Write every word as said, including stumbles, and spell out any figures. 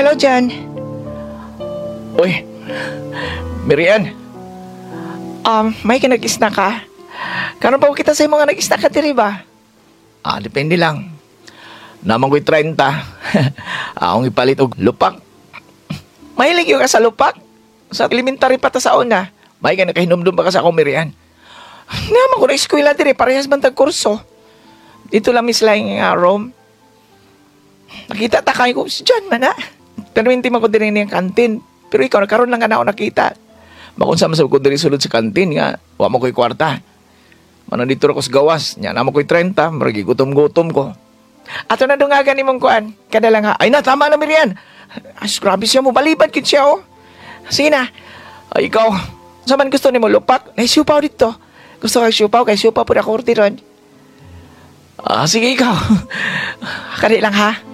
Hello, John. Uy, Mirian. Um, may ka nag-snack ka? Karon pa kita sa mga nag-snack ka diri ba? Ah, depende lang. Naa man ko'y trenta. Akong ipalit og lupak. Mahilig gyud ka sa lupak? Sa elementary pa ta sa una. May ka nakahinumdum pa ka sa akong, Mirian? Naa man ko na eskwela diri, parehas man tag kurso. Dito lang miss lang nga room. Nakita ta kay ko si John man na. Pero hindi man ko diri niyang kantin. Pero ikaw, nakaroon lang ka na ako nakita. Makunsa man sa ko diri sulod sa kantin nga wa man ko'y kwarta. Manang dito ra ko sa gawas, nya naa man ko'y trenta, murag gutom-gutom ko. Ato na dungagan nimong kuan. Kada lang ha. Ay na, tama na, Mirian. Ay, grabe siya mo. Balibad kid siya, oh. Sige na. Ay, ikaw. Sa man gusto nimo, lupak? Nay siupaw dito. Gusto kay siupaw kay siupaw pud ako orderon. Ah, sige, ikaw. Kari lang ha.